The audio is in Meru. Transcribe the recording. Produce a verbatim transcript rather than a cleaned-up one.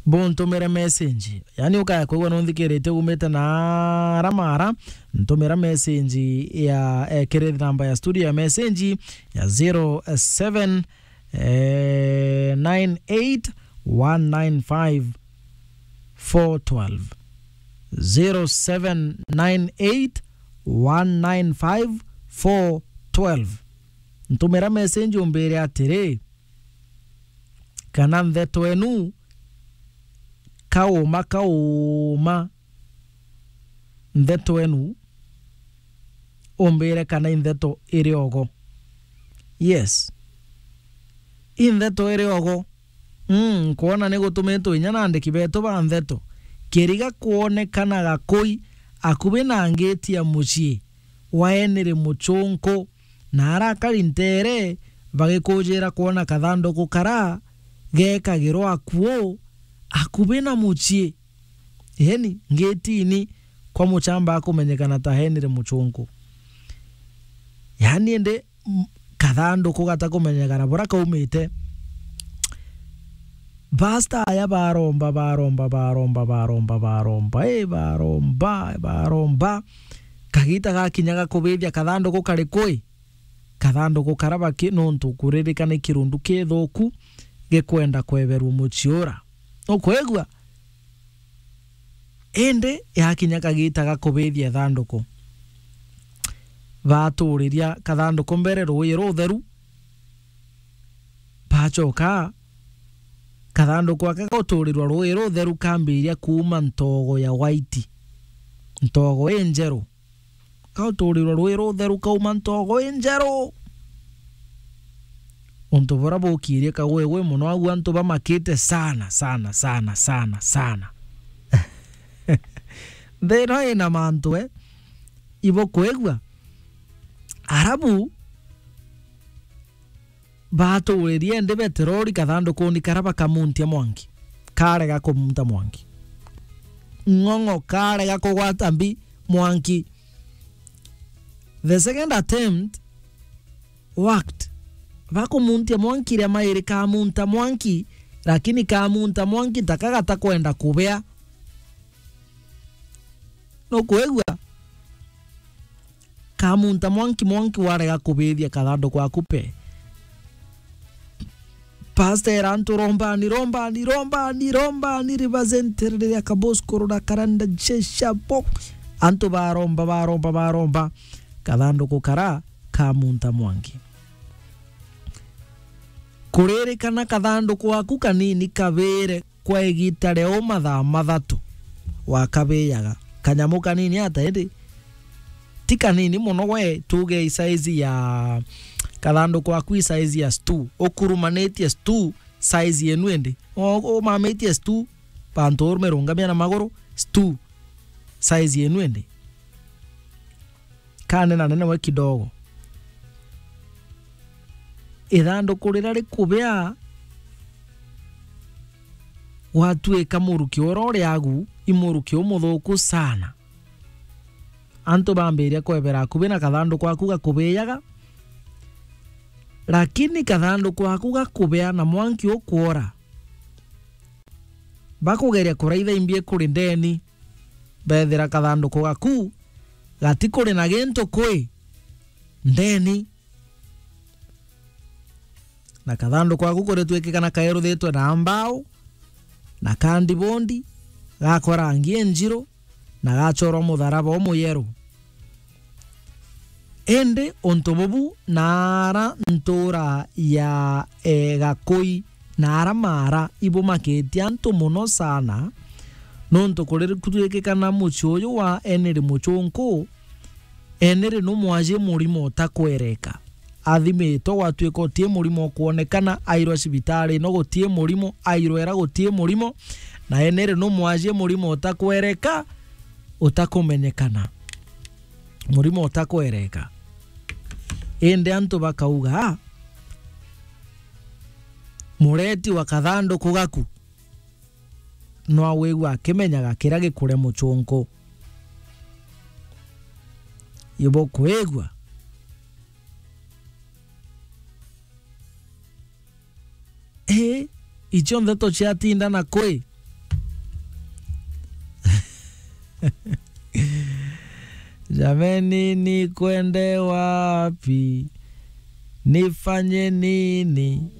Buntumire message. Yaani, ukaya kwigua nunthikirite umite na ara mara, ntumira message ya, eh, kiri namba ya studio ya message ya zero seven nine eight one nine five four twelve. Zero seven nine eight one nine five four twelve. Ntumira message umbire atiri, kana ntheto enu kauma, kauma, ntheto enu umbire kana i ntheto iri ogo. Yes. I ntheto iri ogo. Mm, nkwona ni gutumitwe inya na andiki betu ba ntheto. Kiriga kwonekana Gakui akubi na ngiti ya mucii wa Henry Muchunku, na arakari ntere bagikujira kwona kathanduku kara gekagirwa akuo akubi na mucii. Yaani, ngitini kwa muchamba akumenyekana ta Henry Muchunku. Yaani, indi, m-, kathanduku gatakumenyekana bura kaumite. Pasta aya baromba, baromba, baromba, baromba, baromba, eh, baromba, baromba. Kagita gakinya gakubithia kathanduku kari kui? Kathanduku kara baki nuntu kuririkana i kirundu kithuku gikwenda kweberwa mucii ura. Ukwigua? Indi yakinya kagita ga kubithia ithanduku, baturiria kathanduku mbere ruuji rutheru, bacoka kathanduku aka guturirwa ruuji rutheru kambiria kuuma ntogo ya white, ntogo injeru. Kauturirwa ruuji rutheru kauma ntogo injeru. Untu bura bukirie kagwegwe mono, agu antu bamakite sana, sana, sana, sana, sana. Nthi ino ina mantu, eh, ibukwigua. Arabu, baturirie ndi beterori kathondokoni kara bakamuntia mwanki. Karega kumunta mwanki. Ng'ong'o karega kugwata mbi mwanki. The second attempt worked. Bakumuntia mwanki ria mairi kamunta mwanki, lakini kamunta mwanki taka gatakwenda kubea. Nukwigua? Kamunta mwanki, mwanki warega kubithia kathanduku aku pe. Pastor era antu, "Rombani, rombani, rombani, rombani, ribazenterere ria kaboskoro na karanda jeshabo." Antu baromba, baromba, baromba. Kathanduku kara kamunta mwanki. Kuririkana kathanduku aku kanini kabire kwa igita ria uu mathaa mathatu wakabijaga. Kanyamu kanini ata indi? Ti kanini mono we, tuge i size ya kathanduku aku i size ya stool. Ukurumanitie stool size yenu indi. O-, umamitie stool, bantu urume rungamia na maguru, stool size yenu indi. Kanenanene we kidogo. Ithanduku riria rikubea, gwatuika muruki uria uri agu, i muruki umuthuku sana. Antu bambiria kwebera akubi na kathanduku aku gakubijaga, lakini kathanduku aku gakubea na mwanki ukwora. Bakugeria kuraitha imbi kuri ndeni, bethira kathanduku gaku gatikuri na gintu kwi ndeni. Na kathanduku gaku kuritwikika na kaeruthitwe na mbao, na kandibondi, gakwa rangi injiru, na gachorwa mutharaba umuyeru. Indi untu bubu naara ntuura ya, e, Gakui naara maara ibumakitie antu mono sana, nontu kuri kutwikikana mucii uyu wa Henry Muchunku, Henry numwaji murimo utakwereka. Athimitwe, gwatuika utii murimo ukwonekana, airwa cibitari ino gutii murimo, airwera gutii murimo, na Henry numwaji murimo utakwereka, utakumenyekana. Murimo utakwereka. Indi antu bakauga, mureti wa kathanduku gaku no awigua akimenyaga kiria gikuria Muchunku. Ibukwigua? Ii, icio ntheto ciatinda na kwi? Jameni, nikwende wapi? Nifanye nini?